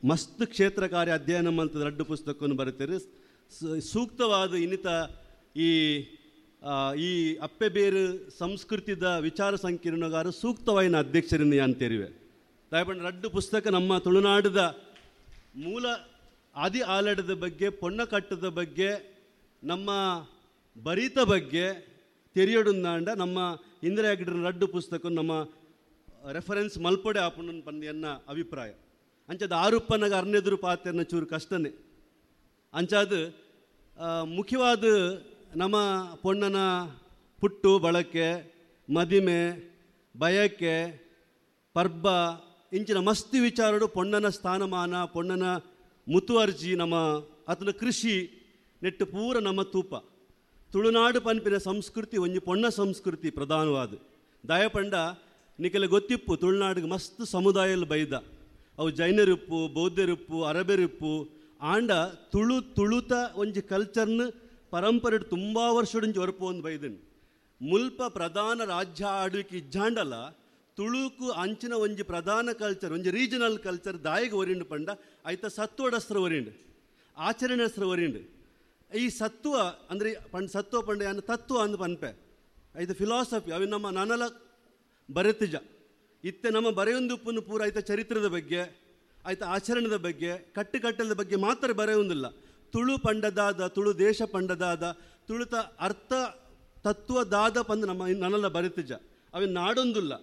ಮಸ್ತ್ ಕ್ಷೇತ್ರ ಕಾರ್ಯ ಅಧ್ಯಯನ ಮಲ್ತದ ರಡ್ಡು ಪುಸ್ತಕವನ್ನು ಬರೆತರು. ಸೂಕ್ತವಾದ ಇನ್ನಿತ ಈ ಈ ಅಪ್ಪೆ ಬೇರು ಸಂಸ್ಕೃತಿದ ವಿಚಾರ ಸಂಕಿರಣಗಾರ ಸೂಕ್ತವಾಯಿನ ಅಧ್ಯಕ್ಷರಿಂದ ಅಂತೇರಿವೆ. ದಯಪಂಡ ರಡ್ಡು ಪುಸ್ತಕ ನಮ್ಮ ತುಳುನಾಡದ ಮೂಲ ಆದಿ ಆಲಡದ ಬಗ್ಗೆ, ಪೊಣ್ಣಕಟ್ಟದ ಬಗ್ಗೆ, ನಮ್ಮ ಬರೀತ ಬಗ್ಗೆ ತೆರಿಯೊಡುಂದಾಂಡ ನಮ್ಮ ಇಂದಿರಾ ಹೆಗ್ಗಡೆನ ರಡ್ಡು ಪುಸ್ತಕ ನಮ್ಮ ರೆಫರೆನ್ಸ್ ಮಲ್ಪಡೆ ಆಪುಂಡು ಪಂದ್ ಎನ್ನ ಅಭಿಪ್ರಾಯ. ಅಂಚದ ಆರುಪ್ಪನಾಗ ಅರ್ನೆದುರು ಪಾತೆರ್ನ ಚೂರು ಕಷ್ಟನೇ. ಅಂಚಾದ ಮುಖ್ಯವಾದ ನಮ್ಮ ಪೊಣ್ಣನ ಪುಟ್ಟು ಬಳಕೆ, ಮದಿಮೆ, ಬಯಕೆ, ಪರ್ಬ ಇಂಚಿನ ಮಸ್ತಿ ವಿಚಾರಡು ಪೊಣ್ಣನ ಸ್ಥಾನಮಾನ, ಪೊಣ್ಣನ ಮುತುವರ್ಜಿ, ನಮ್ಮ ಆತನ ಕೃಷಿ ನೆಟ್ಟು ಪೂರ ನಮ್ಮ ತೂಪ. ತುಳುನಾಡು ಪನ್ಪಿನ ಸಂಸ್ಕೃತಿ ಒಂಜಿ ಪೊಣ್ಣ ಸಂಸ್ಕೃತಿ ಪ್ರಧಾನವಾದ. ದಯಪಂಡ ನಿಕಲೆ ಗೊತ್ತಿಪ್ಪು ತುಳುನಾಡಿಗೆ ಮಸ್ತ್ ಸಮುದಾಯಲು ಬೈದ, ಅವು ಜೈನರಿಪ್ಪು, ಬೌದ್ಧರಿಪ್ಪು, ಅರಬೆರಿಪ್ಪು. ಆಂಡ ತುಳು ತುಳುತ ಒಂಜಿ ಕಲ್ಚರ್ನ ಪರಂಪರೆ ತುಂಬ ವರ್ಷಡಿಂಚಿ ಒರಪು ಒಂದು ಬೈದನ್. ಮುಲ್ಪ ಪ್ರಧಾನ ರಾಜ್ಯ ಆಳ್ವಿಕೆ ಇಜ್ಜಾಂಡಲ ತುಳುಕು ಅಂಚಿನ ಒಂಜಿ ಪ್ರಧಾನ ಕಲ್ಚರ್, ಒಂಜಿ ರೀಜನಲ್ ಕಲ್ಚರ್ ದಾಯಿಗೆ ಒರಿಂಡು ಪಂಡ ಐತ ಸತ್ವಡಸ್ತ್ರ ಒರಿಂಡು, ಆಚರಣೆಸ್ತ್ರ ಒರಿಂಡು. ಈ ಸತ್ವ ಅಂದರೆ ಪಂಡ ಸತ್ವ ಪಂಡ ಯಾನ ತತ್ವ ಅಂದ್ ಪನ್ಪೆ, ಐತ ಫಿಲಾಸಫಿ ಅవి ನಮ್ಮ ನನಲ ಬರೆತಿಜ. ಇತ್ತೆ ನಮ್ಮ ಬರೆಯೊಂದುಪ್ಪನ್ನು ಪೂರ ಐತ ಚರಿತ್ರದ ಬಗ್ಗೆ, ಐತ ಆಚರಣೆದ ಬಗ್ಗೆ, ಕಟ್ಟುಕಟ್ಟಲದ ಬಗ್ಗೆ ಮಾತ್ರ ಬರೆಯೊಂದಿಲ್ಲ. ತುಳು ಪಂಡದಾದ, ತುಳು ದೇಶ ಪಂಡದಾದ, ತುಳುತ ಅರ್ಥ ತತ್ವದಾದ ಪಂದ್ ನಮ್ಮ ನನ್ನಲ್ಲ ಬರೆತಿಜ. ಅవి ನಾಡೊಂದುಲ್ಲ.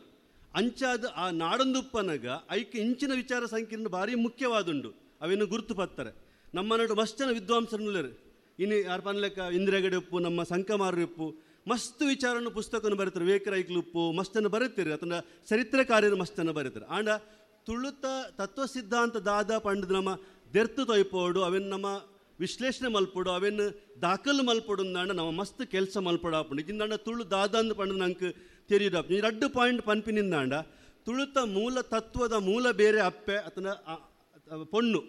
ಅಂಚಾದ ಆ ನಾಡೊಂದುಪ್ಪನಗ ಐಕ್ ಇಂಚಿನ ವಿಚಾರ ಸಂಕೀರ್ಣ ಭಾರಿ ಮುಖ್ಯವಾದುಂಡು. ಅವೇನು ಗುರುತು ಪತ್ತಾರೆ ನಮ್ಮ ನಡು ಮಸ್ತ್ ಜನ ವಿದ್ವಾಂಸರನ್ನುಲ್ಲರು. ಇನ್ನು ಯಾರು ಪನ್ಲೆಕ್ಕ ಇಂದಿರಾ ಹೆಗಡೆ ಉಪ್ಪು, ನಮ್ಮ ಸಂಕಮಾರು ಉಪ್ಪು, ಮಸ್ತ್ ವಿಚಾರನ್ನು ಪುಸ್ತಕವನ್ನು ಬರೀತಾರೆ. ವಿವೇಕರೈಕ್ಲು ಉಪ್ಪು ಮಸ್ತನ್ನು ಬರೀತಾರೆ, ಅಥವಾ ಚರಿತ್ರೆಕಾರ್ಯರು ಮಸ್ತನ್ನು ಬರೀತಾರೆ. ಆಂಡ ತುಳುತ ತತ್ವ ಸಿದ್ಧಾಂತ ದಾದ ಪಂಡದ ನಮ್ಮ ದೆರ್ತು ತೊಯ್ಪೋಡು, ಅವೇನು ನಮ್ಮ ವಿಶ್ಲೇಷಣೆ ಮಲ್ಪೊಡು, ಅವೇನು ದಾಖಲು ಮಲ್ಪೊಡು ಅಂದಾಂಡ ನಮ್ಮ ಮಸ್ತ್ ಕೆಲಸ ಮಲ್ಪೊಡು. ಇದಿಂದಾಂಡ ತುಳು ದಾದ ಅಂದ್ ಪಂಡ ನಂಗೆ ತೆರಿಯದು. ಈ ರಡ್ಡು ಪಾಯಿಂಟ್ ಪನ್ಪಿನಿಂದಾಂಡ ತುಳುತ ಮೂಲ ತತ್ವದ ಮೂಲ ಬೇರೆ ಅಪ್ಪೆ ಅಥವಾ ಪೊಣ್ಣು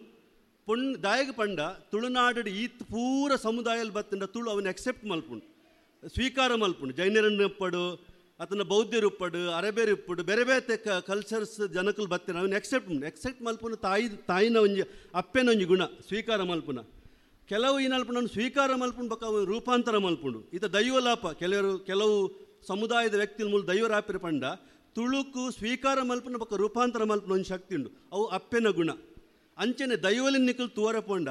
ಪೊಣ್ಣು ದಾಯಗ ಪಂಡ ತುಳುನಾಡು ಈತ್ ಪೂರ ಸಮುದಾಯಲ್ಲಿ ಬತ್ತಂಡ ತುಳು ಅವನ್ನ ಅಕ್ಸೆಪ್ಟ್ ಮಲ್ಪುಂಡು, ಸ್ವೀಕಾರ ಮಲ್ಪುಂಡು. ಜೈನರನ್ನು ಉಪ್ಪಡು, ಅತನ ಬೌದ್ಧರು ಉಪ್ಪಡು, ಅರಬೇರು ಉಪ್ಪಡು, ಬೇರೆ ಬೇರೆ ಕಲ್ಚರ್ಸ್ ಜನಕಲು ಬತ್ತಿನ ಅವನ್ನ ಎಕ್ಸೆಪ್ಟ್ ಮಲ್ಪುನ ತಾಯಿನ ಒಂಜಿ ಅಪ್ಪೆನ ಒಂಜಿ ಗುಣ ಸ್ವೀಕಾರ ಮಲ್ಪುನ. ಕೆಲವು ಏನಲ್ಪುಂಡು ಅವನು ಸ್ವೀಕಾರ ಮಲ್ಪುಂಡು ಬೊಕ್ಕ ಅವನು ರೂಪಾಂತರ ಮಲ್ಪುಂಡು. ಈತ ದೈವಲಾಪ ಕೆಲವು ಸಮುದಾಯದ ವ್ಯಕ್ತಿ ಮೂಲ ದೈವರಾಪಿರ ಪಂಡ ತುಳುಕು ಸ್ವೀಕಾರ ಮಲ್ಪುನ ಬೊಕ್ಕ ರೂಪಾಂತರ ಮಲ್ಪುನ ಒಂದು ಶಕ್ತಿ ಉಂಡು, ಅವು ಅಪ್ಪೆನ ಗುಣ. ಅಂಚನೆ ದೈವಲಿನ ನಿಕಲ್ ತೂವರ ಪೋಂಡ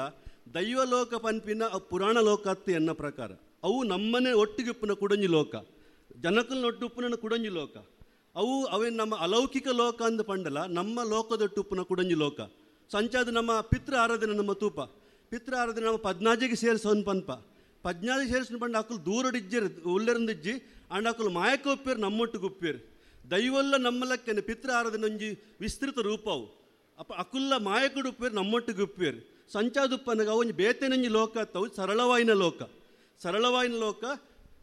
ದೈವಲೋಕ ಪನ್ಪಿನ ಪುರಾಣ ಲೋಕ ಅತ್ತು ಎನ್ನ ಪ್ರಕಾರ. ಅವು ನಮ್ಮನೆ ಒಟ್ಟಿಗೆ ಉಪ್ಪುನ ಕುಡಂಜಿ ಲೋಕ, ಜನಕಲ್ನ ಒಟ್ಟು ಉಪ್ಪುನ ಕುಡಂಜಿ ಲೋಕ. ಅವು ಅವೇ ನಮ್ಮ ಅಲೌಕಿಕ ಲೋಕ ಅಂದ ಪಂಡಲ ನಮ್ಮ ಲೋಕದೊಟ್ಟು ಉಪ್ಪುನ ಕುಡಂಜಿ ಲೋಕ. ಸಂಚಾದ ನಮ್ಮ ಪಿತೃ ಆರಾಧನೆ ನಮ್ಮ ತೂಪ ಪಿತೃ ಆರಾಧನೆ ನಮ್ಮ ಪದ್ನಾಜಿಗೆ ಸೇರಿಸೋನ್ ಪನ್ಪ. ಪದ್ನಾಜಿಗೆ ಸೇರಿಸೋನ್ ಪಂಡ ಅಕುಲು ದೂರಡಿಜ್ಜಿರ್ ಉಲ್ಲೆರಂದಿಜ್ಜಿ ಅಂಡ್ ಅಕುಲು ಮಾಯಕ ಉಪ್ಪೇರು ನಮ್ಮೊಟ್ಟಿಗೆ ಉಪ್ಪೇರು. ದೈವಲ್ಲ ನಮ್ಮಲಕ್ಕನೆ ಪಿತೃ ಆರಾಧನೆ ಒಂಜಿ ವಿಸ್ತೃತ ರೂಪವು. ಅಪ್ಪ ಅಕುಲ್ಲ ಮಾಯಕಡು ಉಪ್ಪೇರು ನಮ್ಮೊಟ್ಟಿಗೆ ಉಪ್ಪೇರು. ಸಂಚಾದುಪ್ಪನಗ ಒಂಜಿ ಬೇತೆನಂಜಿ ಲೋಕ ಅತ್ತವು ಸರಳವಾಯಿನ ಲೋಕ. ಸರಳವಾಯಿನ ಲೋಕ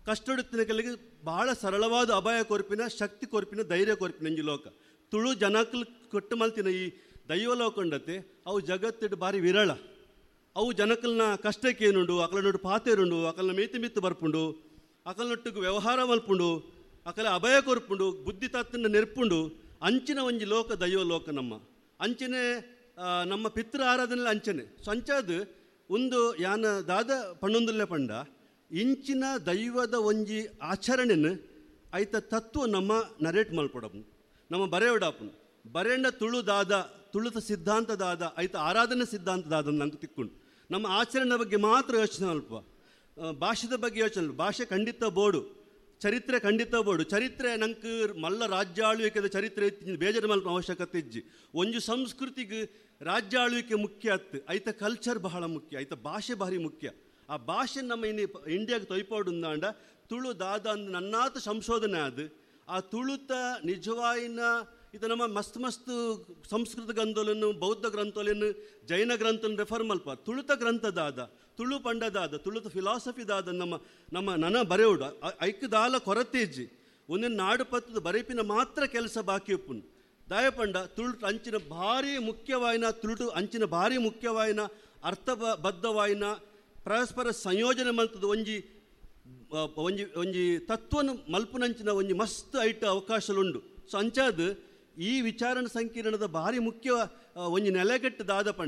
ಕಷ್ಟೊಡುತ್ತಿನ ಕೆಲಗೆ ಬಹಳ ಸರಳವಾದ ಅಭಯ ಕೊರ್ಪಿನ ಶಕ್ತಿ ಕೊರ್ಪಿನ ಧೈರ್ಯ ಕೊರ್ಪಿನ ಒಂಜಿ ಲೋಕ. ತುಳು ಜನಕಲು ಕೊಟ್ಟು ಮಲ್ತಿನ ಈ ದೈವ ಲೋಕ ಉಂಡತೆ ಅವು ಜಗತ್ತಿಡು ಭಾರಿ ವಿರಳ. ಅವು ಜನಕಲ್ನ ಕಷ್ಟಕ್ಕೆ ಏನುಂಡು, ಅಕಲ ನೊಟ್ಟು ಪಾತೇರುಂಡು, ಅಕಲ್ನ ಮೇತಿ ಮಿತ್ತು ಬರ್ಪುಂಡು, ಅಕಲ್ನೊಟ್ಟಿಗೆ ವ್ಯವಹಾರ ಮಲ್ಪುಂಡು, ಅಕಲ ಅಭಯ ಕೊರ್ಪುಂಡು, ಬುದ್ಧಿ ತತ್ತನ್ನ ನೆರ್ಪುಂಡು. ಅಂಚಿನ ಒಂಜಿ ಲೋಕ ದೈವ ಲೋಕ ನಮ್ಮ. ಅಂಚನೆ ನಮ್ಮ ಪಿತೃ ಆರಾಧನೆ ಅಂಚನೆ. ಸೊ ಅಂಚಾದ ಒಂದು ಯಾನ ದಾದ ಪಣ್ಣೊಂದುಲ್ಲೆ ಪಂಡ ಇಂಚಿನ ದೈವದ ಒಂಜಿ ಆಚರಣೆನ ಐತ ತತ್ವ ನಮ್ಮ ನರೇಟ್ ಮಲ್ಪೊಡಪ್ಪು, ನಮ್ಮ ಬರೆಯೋಡಪ್ಪನು. ಬರೆಂಡ ತುಳು ದಾದ, ತುಳುತ ಸಿದ್ಧಾಂತ ದಾದ, ಐತ ಆರಾಧನೆ ಸಿದ್ಧಾಂತ ದಾದ ನಂಗೆ ತಿಕ್ಕೊಂಡು ನಮ್ಮ ಆಚರಣೆ ಬಗ್ಗೆ ಮಾತ್ರ ಯೋಚನೆ ಅಲ್ಪ, ಭಾಷೆದ ಬಗ್ಗೆ ಯೋಚನೆ. ಭಾಷೆ ಖಂಡಿತ ಬೋಡು, ಚರಿತ್ರೆ ಖಂಡಿತ ಬೋಡು. ಚರಿತ್ರೆ ನಂಗೆ ಮಲ್ಲ ರಾಜ್ಯ ಆಳ್ವಿಕೆದ ಚರಿತ್ರೆ ಬೇಜಾರು ಮಲ್ಪ ಅವಶ್ಯಕತೆ ಇಜ್ಜಿ. ಒಂಜಿ ಸಂಸ್ಕೃತಿಗೆ ರಾಜ್ಯ ಆಳ್ವಿಕೆ ಮುಖ್ಯ ಅತ್ತು, ಐತ ಕಲ್ಚರ್ ಬಹಳ ಮುಖ್ಯ, ಐತ ಭಾಷೆ ಭಾರಿ ಮುಖ್ಯ. ಆ ಭಾಷೆ ನಮ್ಮ ಇನ್ನು ಇಂಡಿಯಾಗೆ ತೊಯ್ಪಾಡುಂದಾಂಡ ತುಳು ದಾದ ಅಂದ್ ನನ್ನಾತ ಸಂಶೋಧನೆ ಅದು ಆ ತುಳುತ ನಿಜವಾಯಿನ ಇದು ನಮ್ಮ ಮಸ್ತ್ ಮಸ್ತ್ ಸಂಸ್ಕೃತ ಗ್ರಂಥಗಳನ್ನು, ಬೌದ್ಧ ಗ್ರಂಥಗಳನ್ನು, ಜೈನ ಗ್ರಂಥವನ್ನು ರೆಫರ್ ಮಲ್ಪ. ತುಳುತ ಗ್ರಂಥದಾದ, ತುಳು ಪಂಡದಾದ, ತುಳುತ ಫಿಲಾಸಫಿ ದಾದ ನಮ್ಮ ನಮ್ಮ ನನ ಬರೆಯೋಡು ಐಕ್ದಾಲ ಕೊರತೆ ಇಜ್ಜಿ. ಒಂದೊಂದು ನಾಡು ಪತ್ತದ ಬರೆಪಿನ ಮಾತ್ರ ಕೆಲಸ ಬಾಕಿ ಉಪ್ಪುನು. ದಾಯಪಂಡ ತುಳು ಅಂಚಿನ ಭಾರಿ ಮುಖ್ಯವಾಯಿನ ತುಳುಟು ಅಂಚಿನ ಭಾರಿ ಮುಖ್ಯವಾಯಿನ ಅರ್ಥಬದ್ಧವಾಯಿನ ಪರಸ್ಪರ ಸಂಯೋಜನೆ ಮಲ್ತದ ಒಂಜಿ ಒಂಜಿ ಒಂಜಿ ತತ್ವನು ಮಲ್ಪುನಂಚಿನ ಒಂಜಿ ಮಸ್ತ್ ಐಟ್ ಅವಕಾಶಲುಂಡು. ಸೊ ಅಂಚಾದ ಈ ವಿಚಾರಣೆ ಸಂಕಿರಣದ ಭಾರಿ ಮುಖ್ಯ ಒಂಜಿ ನೆಲೆಗಟ್ಟು ದಾದ ಪಂಡ